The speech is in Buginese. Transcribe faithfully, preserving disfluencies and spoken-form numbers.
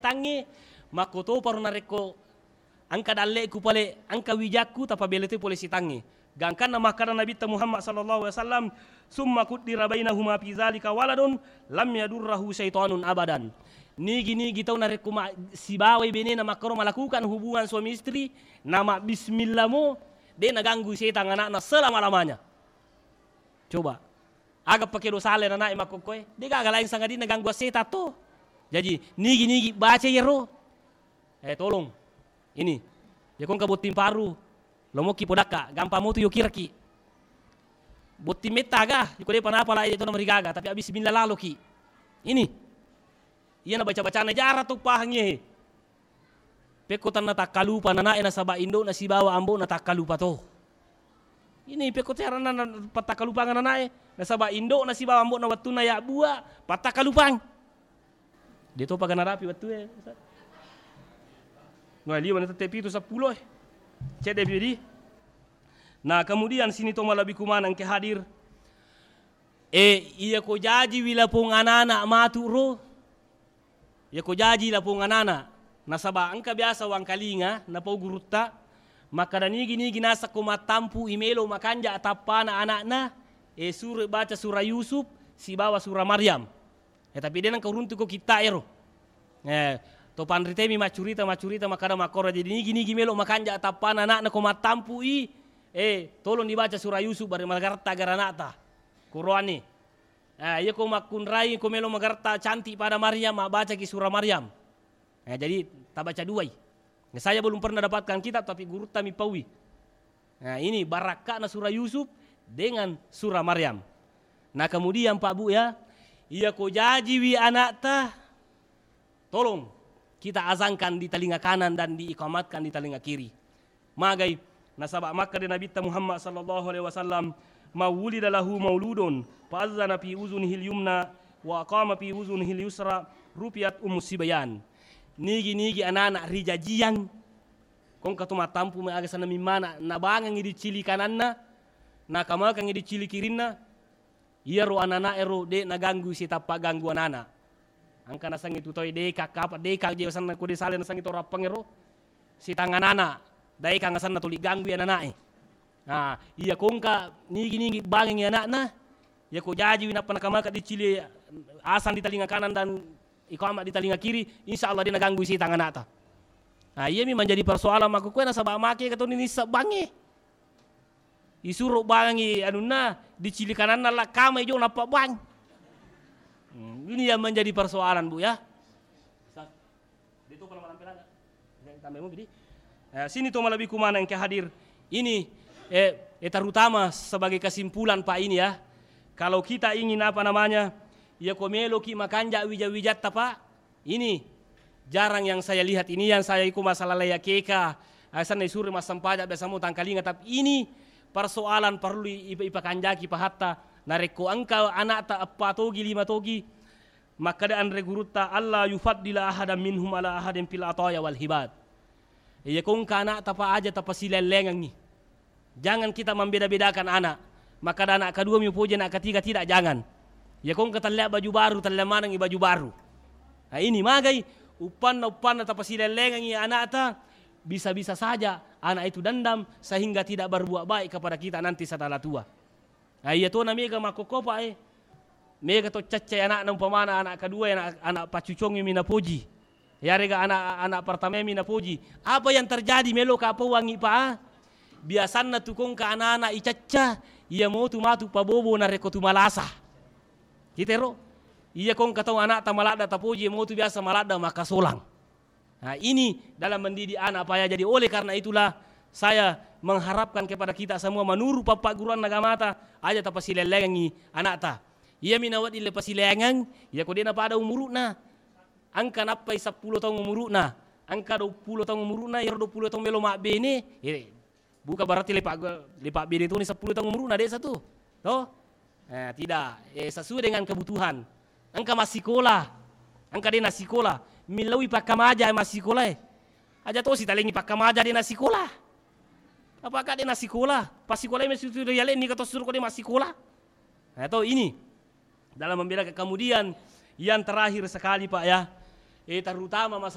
setangnge, makkotoparo narekko engka dalle'ku pale, engka wijakku, tapabela toi pole setangnge. Gangkanna makkada Nabitta Muhammad sallallahu alaihi wasallam, "Summa kuddira bainahuma fi zalika waladun lam yadurrahu syaitanun abadan." Nigi-nigi tau narekko ma-, sibawai benena makkoro malakukan hubungan suami istri, na mabbismillah mo, de' naganggu setang anakna selama-lamanya. Coba. Aga pake dosa le anakna makkokkoe? De' gaga lain sangadinna gangguan setang to. Jaji, nigi-nigi baca iyaro. Eh, tolong. Ini. Yakko engka botting paru, lomokki podakka, gampang motu yokiraki. Botting metta aga, yakko de'pa napala, eh, tona marigaga, tapi abis bismillah laloki. Ini. Iyana baca-bacana jara to pahangngi. Pekko tanna takkalupa nanae nasaba indo'na sibawa ambo'na takkalupa to. Ini pekko tearanna na-, pattakkalupang nanae nasaba indo'na sibawa ambo'na wettunna yabbua pattakkalupang. De' topa ga narapi wettue, Ustaz. Noe liwa na tette pitu seppulo, eh. Cedde pi di. Nah, kemudian sini to malebbiku maneng ke hadir. Eh, iya ko jaji wi lapong anana matu ro. Iya ko jaji lapong anana. Nasaba engka biasa wangkalinga napau gurutta. Makkada nigi-nigi nasakko mattampu i melo makanja tappana anakna, eh, sure baca sura Yusuf sibawa sura Maryam. Eh, tapi de' nengka uruntuko kitta ero. Eh, to panritemi maccurita, maccurita makkada makkoro. Jadi nigi-nigi melo makanja tappana anakna ko mattampu i, eh, tolong dibaca sura Yusuf bare magarta gara anakta. Koroane. Eh, iya ko makkunrai ko melo magarta cantik pada Maryam, mabbacaki sura Maryam. Eh, jadi tabaca duai. Saya belum pernah dapatkan kitab, tapi gurutta mi paui. Nah, ini barakka'na sura Yusuf dengan sura Maryam. Nah, kemudian Pak Bu ya, iya ko jajiwi anakta, tolong kita azankan di telinga kanan dan diikamatkan di telinga kiri. Magai, nasaba makkeda Nabitta Muhammad sallallahu alaihi wasallam, "Man wulida lahu mauludun, fa azzana fi uzunihil yumna, wa aqama fi uzunihil yusra, rufiat ummu sibyan." Nigi-nigi anana rijajiang, Kongka to mattampu mai aga senna mimmana, nabangengngi diccili kananna, nakamakengngi diccili kirinna, iyaro anana'e ro de' naganggu sitappa ganggu anana. Engka nasengngi tu toi deka, kapa deka je senna ko de' sale nasengngi to rappengngero, sitangnganana, daekang asenna tuli ganggui anana'e. Nah, iya kongka nigi-nigi bangengngi ana'na, iya ko jajiwi nappa nakamaka diccili asang di talinga kanan dan ikama di talinga kiri, insya Allah de' naganggui sitang ana'ta. Nah, iyami manjadi persoalan makkukue nasaba make katoni nisseng bangnge. Isuro bangengngi anunna, diccili kananna lakkamai jo nappa bang. Hmm, ini yang menjadi persoalan, Bu, ya. Eh, sini to malebbiku maneng engka hadir. Ini, eh, eh, terutama sebagai kesimpulan, Pak, ini ya. Kalau kita ingin, apa namanya, iya ko meloki makanja wija-wijatta, Pak, ini jarang yang saya lihat. Ini yang saya iko masalah laya keka, asenna isuro massempajang biasa mo tangkalinga, tapi ini persoalan perlu i-, ipa-, ipakanjaki pahatta. Narekko engka anakta eppa togi, lima togi, makkeda anre gurutta, "Alla yufaddila ahadan minhum ala ahadin fil ataya wal hibat." Iya ko engka anakta pa aja tapasilellengengngi. Jangan kita membeda-bedakan anak. Makkeda anak kedua mi upoji, anak ketiga tidak, jangan. Ya ko engka tellea baju baru, tellea manengngi baju baru. Nah, ini magai uppanna-uppanna tapasilellengengngi anakta, bisa-bisa saja anak itu dendam sehingga tidak berbuat baik kepada kita nanti setelah tua. Nah, iya tona mega makkokkopa, eh. Mega to caccai anakna, umpamana anak kedua, anak, anak paccucongi mi napoji. Yarega anak, anak pertama mi napoji. Apa yang terjadi meloka pauangngi, Pak? Biasanna tu kongka anak-anak icacca, iya motu matu pabobo narekko tu malasa. Kita ro? Iya kongka tau anakta maladda tapoji, iya motu biasa maladda makasolang. Nah, ini dalam mendidik anak, Pak, ya. Jadi oleh karena itulah saya mengharapkan kepada kita semua menurut pappagguruan agamata, aja tapasilellengengngi anakta. Iya mi nawedding le pasilengeng, iya ko de' napada umuru'na. Engka nappai seppulo taung umuru'na, engka duappulo taung umuru'na, iyaro duappulo taung melo mabbene, eh, bukan berarti lepa-, lepa bene toni seppulo taung umuru'na, de' satu. To? Eh, tidak. Eh, sesuai dengan kebutuhan. Engka massikola, engka de' nassikola. Millauwi pakkamaja massikola, eh. Aja tosi talengi pakkamaja de' nassikola. Apa ka de' nassikola? Passikolai mesti tu yalenni ka to suro ko de' massikola. Nah, to ini. Dalam membela, kemudian yang terakhir sekali, Pak, ya, eh, terutama